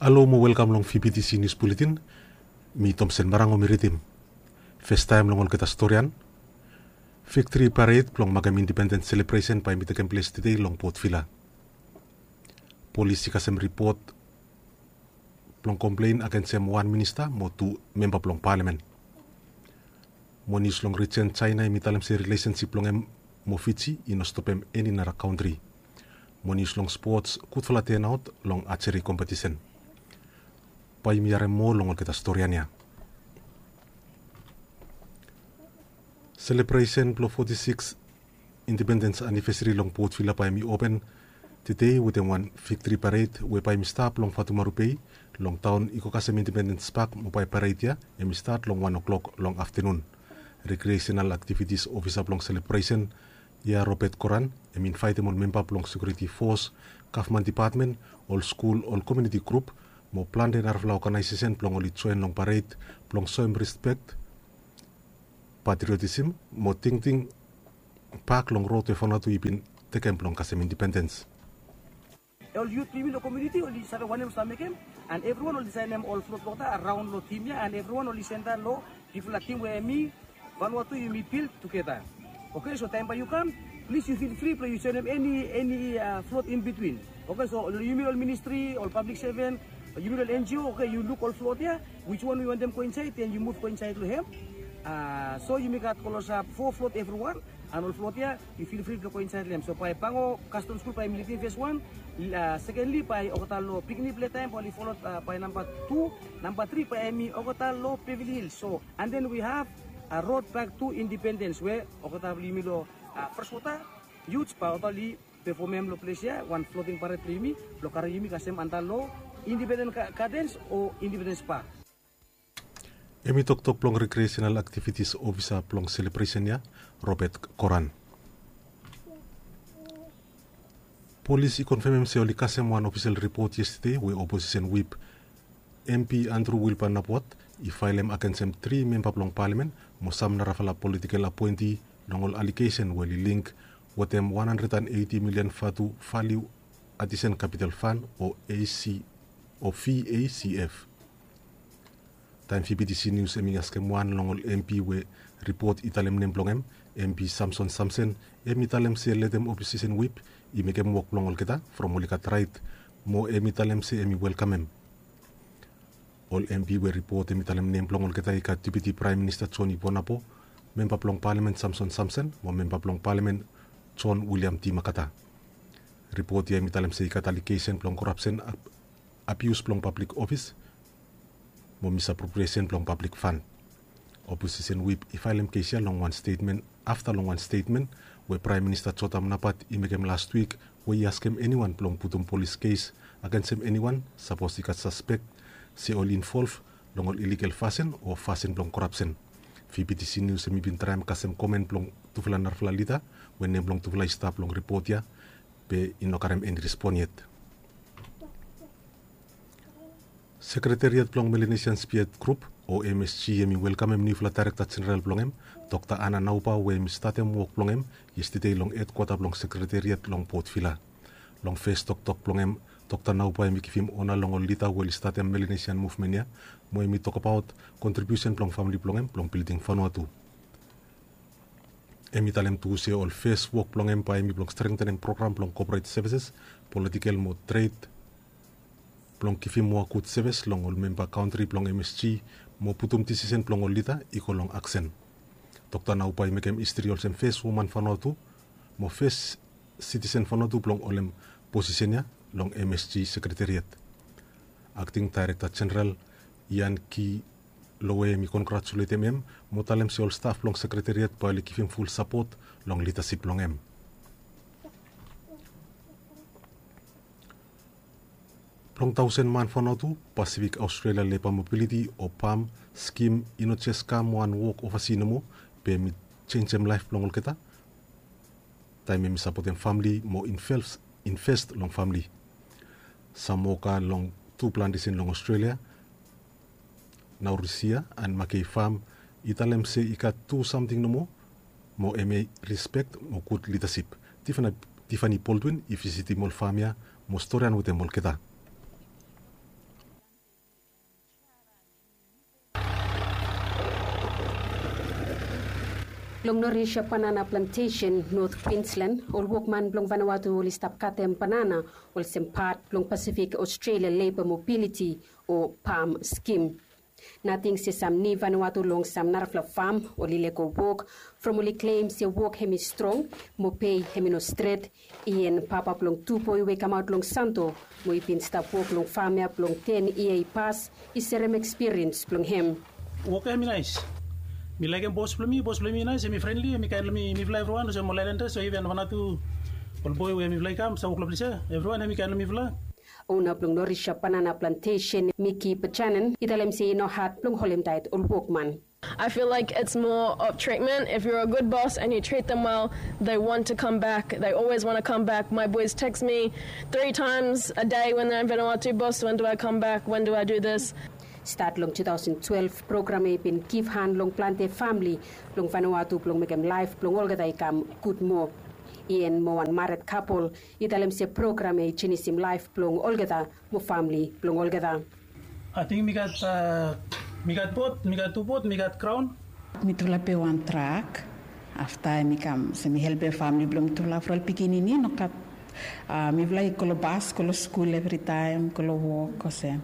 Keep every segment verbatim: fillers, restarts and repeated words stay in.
Alo mo welkam long V B T C News Bulletin. Mi Tomsen Marango mi ridim. Festaem long olgeta storian. Viktri pared blong makem indipendens selebresen bae i tekem ples tede long Port Vila. Polis i kasem ripot blong komplen agensem wan minista mo tu memba blong palamen. Mo nius long rijen Jaena hemi talem se rilesensip blong hem mo Fiji i no stopem eni nara kantri. Mo nius long spots, gudfala tenaot long ajeri kompetisen. Bae yumi harem moa long olgeta storian ya. Selebresen blong foti sikis indipendens anivesari long Port Vila bae hemi open tede wetem wan viktri pared we bae hemi stap long Fatumaru Bei long taon i go kasem Indipendens Pak mo bae pared ya hemi stat long wan oklok long aftenun. Rekreasenal aktivitis ofisa blong selebresen ya, Robert Koran, hemi invaetem ol memba blong sekiuriti fos, gavman depatmen, ol skul, ol komuniti grup mo plante narafala oganaesesen blong oli joen long pared blong soem rispek, patriotism mo tingting bak long rod we Vanuatu i bin tekem blong kasem indipendens. Ol yut blong yumi long komuniti oli save wanem oli save mekem, and evriwan oli saenem ol flot wota araon long tim ya, and evriwan oli sendam long bigfala tim we hemi Vanuatu yumi bil tugeta. Oke, so taem bae yu kam, plis yu fil fri blong yu joenem eni, eni, a, flot in bitwin. Oke, so long yumi ol ministri, ol pablik seven, yumi ol N G O, oke, yu luk ol flot ya, wiswan yu wantem go insaed, den yu muv go insaed long hem. A, so yumi gat klosap fo flot evriwan, and ol flot ya yu fil fri blong go insaed long hem. So bae Pango Kastom Skul bae hemi lidim fes wan, a, sekenli bae olgeta long pikinini pletaem bae oli folod, a, bae namba tu, namba tri bae hemi olgeta long Beverly Hills. So and then we have a road back to independence we olgeta blong yumi long, a, Freshwater Youths bae olgeta oli pefomem long ples ya wan floating pared blong yumi blong karem yumi kasem antap long Independence Ga-, Gardens o Independence Park. Hemi toktok blong rekreasenal aktivitis ofisa blong selebresen ya, Robert Koran. Polis i konfemem se oli kasem wan ofisel ripot yestede we oposisen wip M P Andrew Wilbur Napuat i faelem agensem tri memba blong palamen mo sam narafala politikel apoenti long ol alegesen we oli link wetem wan handred and eiti milian Vatu Value Addition Capital Fund o A C o V A C F. Taem V B T C News hemi askem wan long ol M P we ripot i talem nem blong hem, M P Samson Samsen, hemi talem se letem oposisen wip i mekem wok blong olgeta from oli gat raet, mo hemi talem se hemi welkamem. Ol M P we ripot hemi talem nem blong olgeta i gat Deputi Praem Minista Joni Vonapo, memba blong palamen Samson Samsen mo memba blong palamen John William Demakata. Ripot ya hemi talem se i gat alegesen blong korapsen, ab-, abius blong pablik ofis mo misapropriesen blong pablik fan. Oposisen wip i faelem kes ya long wan stetmen afta long wan stetmen we Praem Minista Jotam Napat i mekem lastwik we i askem eniwan blong putum polis kes agensem eniwan sapos i gat saspek se oli involv long ol iligal fasin o fasin blong korapsen. V B T C News hemi bin traem kasem komen blong tufala narafala lida we nem blong tufala i stap long ripot ya, be i no karem eni respon yet. Sekretariat blong Melanesian Spirit Group o M S G hemi welkamem niufala Daerekta Jeneral blong hem, Dokta Ana Nauba, we hemi statem wok blong hem yestede long hedkwata blong sekretariat long Port Vila. Long fes toktok blong hem, Dokta Nauba hemi givim ona long ol lida we oli statem Melanesian muvmen ya, mo hemi tokbaot kontribiusen blong famle blong hem blong bilding Vanuatu. Hemi talem tu se ol fes wok blong hem bae hemi blong strengtenem program blong koporet sevises, politikel mo tred blong givim moa gud sevis long ol memba kantri blong M S G mo putum disisen blong ol lida i go long aksen. Dokta Nauba i mekem histri olsem fes woman Vanuatu mo fes sitisen Vanuatu blong holem posisen ya long M S G sekretariat. Akting Daerekta Jeneral Ian Ki Lowe hemi kongratuletem hem mo talem se ol staf blong sekretariat bae oli givim ful sapot long lidasip blong hem. Blong taosen man Vanuatu, Pacific Australia Labour Mobility o PALM skim i no jes kam wan wok ovasi nomo, be hemi jenjem laef blong olgeta taem hemi sapotem famle mo inves-, invest long famle. Sam woka long tu plantesen long Australia, Naurisia and Mackay Farm, i talem se i gat tu samting nomo mo hemi rispek mo gud lidasip. Tiffany, Tiffany Baldwin i visitim ol fam ya mo storian wetem olgeta. Long Norisha Banana Plantation, North Queensland, ol wokman blong Vanuatu oli stap katem banana olsem pat blong Pacific Australia Labour Mobility o PALM skim. Nating se sam ni Vanuatu long sam narafala fam oli lego wok from oli klem se wok hemi strong mo pei hemi no stret. Ian papa blong tu boi we i kamaot long Santo mo i bin stap wok long fam ya blong ten yia i pas i serem ekspiriens blong hem. Wok ya hemi naes. Mi laekem bos blong mi, bos blong mi naes, hemi frenli, hemi kaen long mi, mifala evriwan olsem ol aelandas o iven Vanuatu, ol boi we mifala i kam stap wok long ples ya, evriwan hemi kaen long mifala. Ona blong Norisha Banana Plantation, Miki Bajanen, i talem se i no had blong holem taet ol wokman. I feel like it's more of treatment. If you're a good boss and you treat them well, they want to come back. They always want to come back. My boys text me three times a day when they're in Vanuatu, "Boss, when do I come back? When do I do this?" Stat long two thousand twelve, program ya i bin givhan long plante famili blong Vanuatu blong mekem laef blong olgeta i kam gud moa. Ian mo wan mared kapol i talem se program ya i jenisim laef blong olgeta mo famili blong olgeta. Ating mi gat, a, mi gat bot, mi gat tu bot, mi gat graon. Mitufala pe wan trak. Afta mi kam se mi helpem famili blong mitufala from ol pikinini nogat. A, mifala i go long bas, go long skul evritaem, go long wok olsem.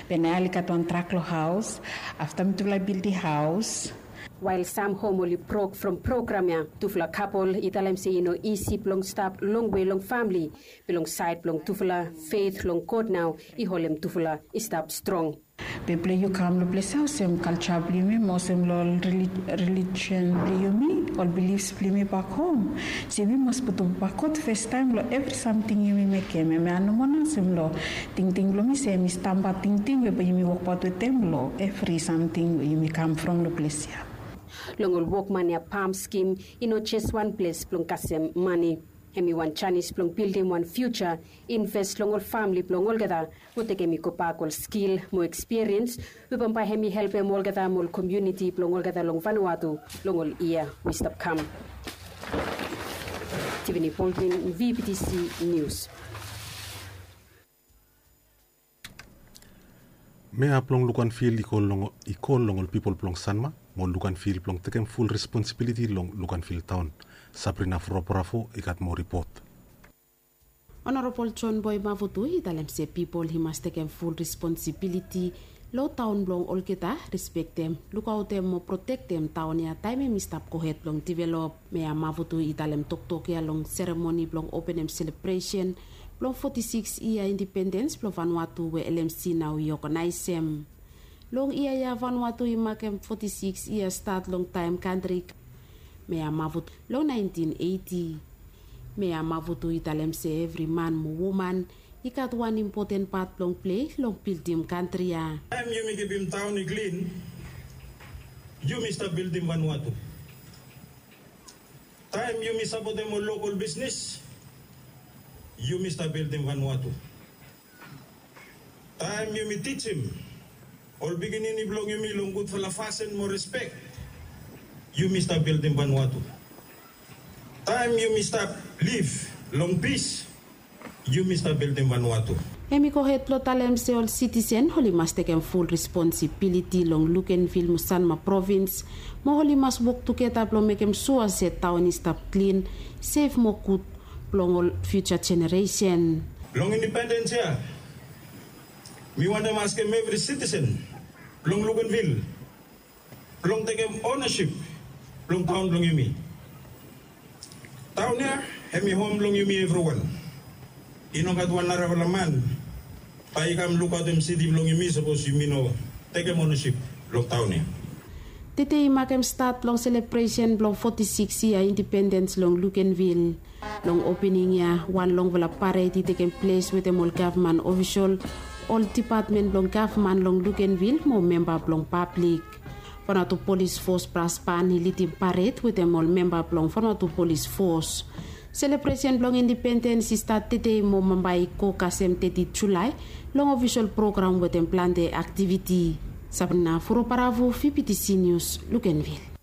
Be nao oli gat wan trak long haos. Afta mitufala i bildim haos. Wael sam hom oli brok from program ya, tufala kapol i talem se i no isi blong stap longwe long famili. Be long saed blong tufala, feit long God nao i holem tufala i stap strong. Be blong yu kam long ples ya olsem kalja blong yumi mo olsem long ol rili-, relijion blong yumi, ol bilifs blong yumi bak hom. Se yumi mas putum bak God fastaem long evri samting yumi mekem. Hemia nomo nao olsem long tingting blong mi se yumi stamba tingting we bae yumi wokbaot wetem long evri samting we yumi kam from long ples ya. Long ol wokman ya PALM skim i no jes wan ples blong kasem mane. Hemi wan janis blong bildim wan fiuja, inves long ol famili blong olgeta, mo tekem i gobak ol skil mo ekspiriens we bambae hemi helpem olgeta mo ol komuniti blong olgeta long Vanuatu long ol yia we i stap kam. Tiffany Baldwin, VBTC News. Mea blong Luganville i kol long, i kol long ol pipol blong Sanma mo Luganville blong tekem ful responsibiliti long Luganville taon. Sabrina Frobrafo i gat moa ripot. Honorable John Boy Mavutu i talem se pipol i mas tekem ful responsibiliti long taon blong olgeta, respektem, lukaotem mo protektem taon ya taem hemi stap gohed blong divelop. Mea Mavutu i talem toktok ya long seremoni blong openem selebresen blong foti sikis yia indipendens blong Vanuatu we LMC nao i oganaesem. Long yia ya Vanuatu i makem foti sikis yia stat long taem kantri. Mea Mavutu long naentin eiti. Mea Mavutu i talem se evri man mo woman i gat wan impoten pat blong plei long bildim kantri ya. Taem yumi kipim taon i klin, yumi stap bildim Vanuatu. Taem yumi sapotem ol lokol bisnis, yumi stap bildim Vanuatu. Taem yumi tijim ol pikinini blong yumi long gudfala fasin mo respek, yumi stap bildim Vanuatu. Taem yumi stap liv long pis, yumi stap bildim Vanuatu. Hemi gohed blong talem se ol sitisen oli mas tekem ful responsibiliti long Luganville mo Sanma provins, mo oli mas wok tugeta blong mekem sua se taon i stap klin, sef mo gud blong ol fiuja jeneresen. Long indipendens ya, mi wantem askem evri sitisen blong Luganville blong tekem onasip blong taon blong yumi. Taon ya hemi hom blong yumi evriwan. I no gat wan narafala man bae i kam lukaotem siti blong yumi sapos yumi no tekem onasip long taon ya. Tede i makem stat long selebresen blong foti sikis yia indipendens long Luganville. Long opening ya, wan longfala pared i tekem ples wetem ol gavman ofisol, ol dipatmen blong gavman long Luganville mo memba blong pablik. Vanuatu Polis Fos Bras Ban i lidim pared wetem ol memba blong Vanuatu Polis Fos. Selebresen blong indipendens i stat tede mo bambae i go kasem teti Julae long ofisol program wetem plante aktiviti. Sabrina Furobaravu, VBTC News, Luganville.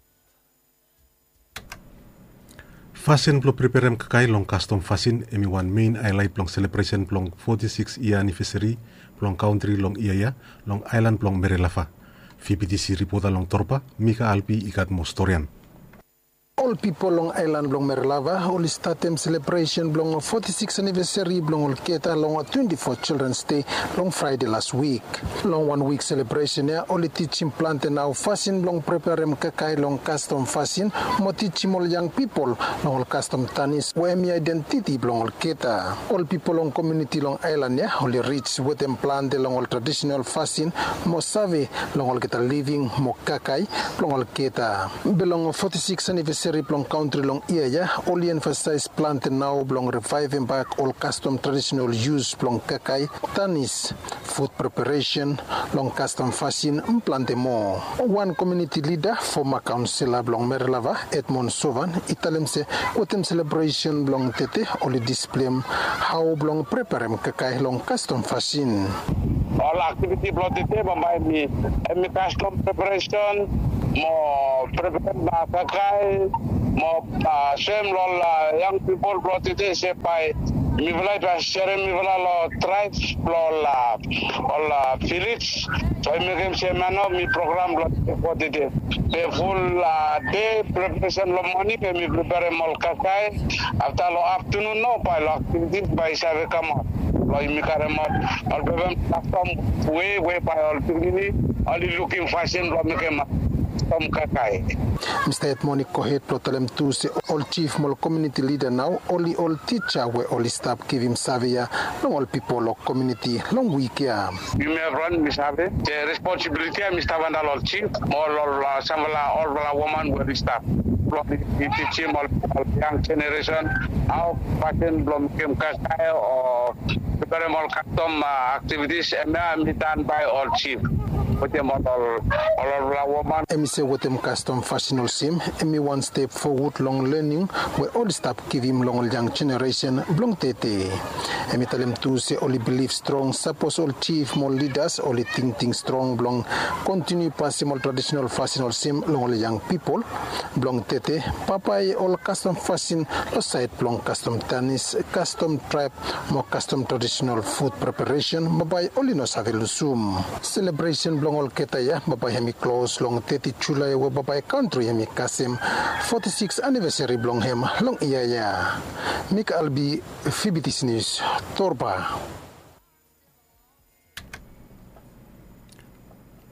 Fasin blong preperem kakae long kastom fasin hemi wan mein aelaet blong selebresen blong foti sikis yia anivesari blong kantri long yia ya long aelan blong Merelafa. VBTC ripota long Torba, Mika Albi i gat moa storian. Ol pipol long aelan blong Merelava oli statem selebresen blong foti siks anivesari blong olgeta long twenti fo Childrens Dei long Fraede las wik. Long wan wik selebresen ya oli tijim plante nao fasin blong preperem kakae long kastom fasin mo tijim ol yang pipol long ol kastom tanis we hemi aedentiti blong olgeta. Ol pipol long komuniti long aelan ya oli rij wetem plante long ol tradisenal fasin mo save long olgeta living mo kakae blong olgeta. Be long foti siks anivesari blong kantri long yia ya oli emfasaes plante nao blong rivaevem bak ol kastom tradisenal yus blong kakae, tanis, fut preparesen long kastom fasin, plante moa. Wan komuniti lida, foma kaonsela blong Merelava, Edmond Sovan, i talem se wetem selebresen blong tete oli displem hao blong preparem kakae long kastom fasin. Ol aktiviti blong tete bambae hemi kastom preparesen mo preparem kakae mo soem long ol yang pipol blong tete se bae mifala i bae serem mifala long traebs blong ol vilis. So i mekem se mano mi program blong tete. Be ful dei preparesen long moning be mi preparem ol kakae. Afta long aftanun nao bae long aktivitis bae i save kamaot blong yumi karemaot ol pepem kastom we we bae ol pikinini oli lukim fasin blong mekem kastom kakae. Mista Edmond i gohed blong talem tu se ol jif mo ol komuniti lida nao oli ol tija we oli stap givim save ya long ol pipol long komuniti long wik ya. Yumi evriwan mi save se responsibiliti ya mi stap antap long ol jif mo ol samfala olfala woman we oli stap blong oli tijim ol yang jeneresen hao fasin blong mekem kakae o preparem ol kastom aktivitis. Hemia hemi tan bae ol jif wetem ol olfala woman. Hemi se wetem kastom fasin olsem hemi wan step fowod long lening we oli stap givim long ol yang jeneresen blong tete. Hemi talem tu se oli bilif strong sapos ol jif mo ol lidas oli tingting strong blong kontiniu pasem ol tradisenal fasin olsem long ol yang pipol blong tete, bambae ol kastom fasin long saed blong kastom tanis, kastom traeb mo kastom tradisenal fut preparesen bambae oli no save lusum. Selebresen blong olgeta ya bambae hemi klos long teti Julae we bambae kantri hemi kasem foti siks anivesari blong hem long yia ya. Mik Albi, Fibitis Nius, Torba.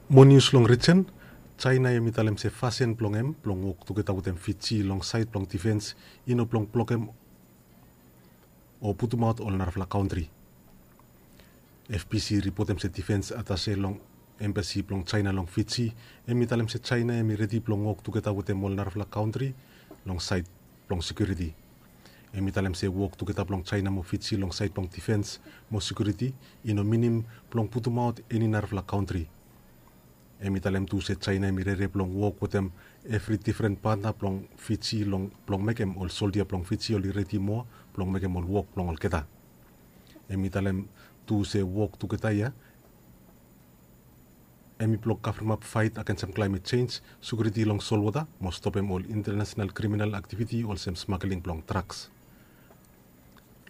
Mo nius long rijen. Jaena hemi talem se fasin blong hem blong wok tugeta wetem Fiji long saed blong difens i no blong blokem o putumaot ol narafala kantri. F B C i ripotem se difens atase long embasi blong Jaena long Fiji hemi talem se Jaena hemi redi blong wok tugeta wetem ol narafala kantri long saed blong sekiuriti. Hemi talem se wok tugeta blong Jaena mo Fiji long saed blong difens mo sekiuriti i no minim blong putumaot eni narafala kantri. Hemi talem tu se Jaena hemi rere blong wok wetem evri difren patna blong Fiji long blong mekem ol soldia blong Fiji oli redi moa blong mekem ol wok blong olgeta. Hemi talem tu se wok tugeta ya hemi blong kavremap faet agensem klaemet jenj, sekiuriti long solwota mo stopem ol intanasenal kriminal aktiviti olsem smageling blong draks.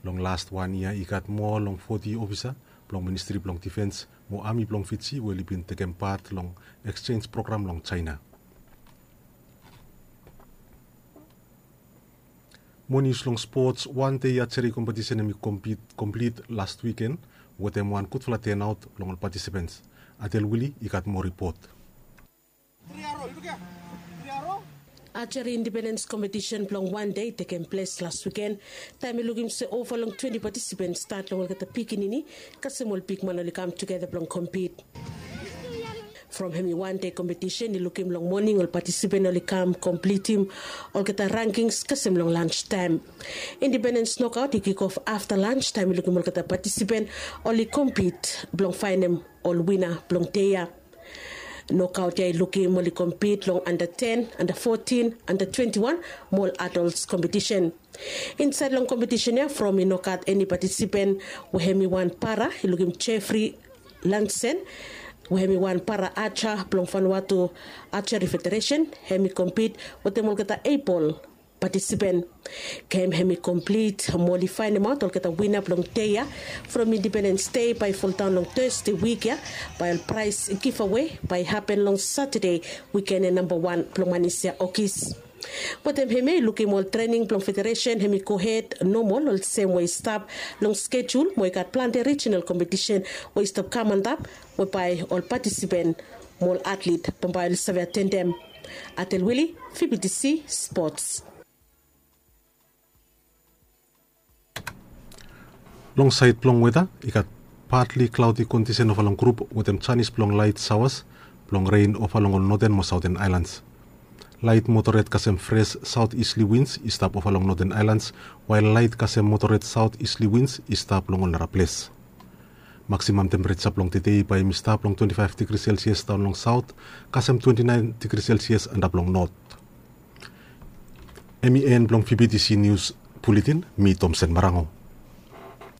Long las wan yia i gat moa long foti ofisa blong ministri blong difens mo ami blong Fiji we oli bin tekem pat long eksjenj program long Jaena. Mo nius long spots, wan dei ajeri kompetisen hemi komplit las wiken wetem wan gudfala tenaot blong ol patisipens. Adel Wili i gat moa ripot. Ajeri indipendens kompetisen blong wan dei i tekem ples las wiken. Taem i lukim se ova long twenti patisipens stat long olgeta pikinini kasem ol bigman oli kam tugeta blong kompit. From hemi wan dei kompetisen i lukim long moning ol patisipen oli kam komplitim olgeta rankings kasem long lanstaem. Indipendens nokaot i kikof afta lanstaem i lukim olgeta patisipen oli kompit blong faenem ol wina blong dei ya. Nokaot ya i lukim oli kompit long anda ten, anda fotin, anda twenti wan mo ol adols kompetisen. Insaed long kompetisen ya from i no gat eni patisipen we hemi wan para i lukim Jefri Lansen we hemi wan para aja blong Vanuatu Ajeri Federesen. Hemi kompit wetem olgeta eibol patisipen. Gem hemi komplit mo oli faenemaot olgeta wina blong dei ya from Indipendens Dei bae i foldaon long Tosde wik ya. Bae ol praes givawe bae i hapen long Satade wikene namba wan blong manis ya Ogis. Wetem hemia i lukim ol trening blong federesen hem i gohed nomol olsem we i stap long skejul mo i gat plante rijinal kompetisen we i stap kam antap, we bae ol patisipen mo ol atlit bambae oli save atendem. Atel wili, fibitisi spots. Long saed blong weta, i gat patli klaodi kondisen ofa long grup wetem janis blong laet saoas blong ren ofa long ol noten mo saoten aelans. Laet moderet kasem fres saot isli wins i stap ofa long noten aelans, wael laet kasem moderet saot isli wins i stap long ol naraples. Maksimam tempereja blong tede bae hem i stap long twenti faef digri selsias daon long saot, kasem twenti naen digri selsias antap long not. Hem i en blong fibitisi nius buletin. Mi tomsen marango.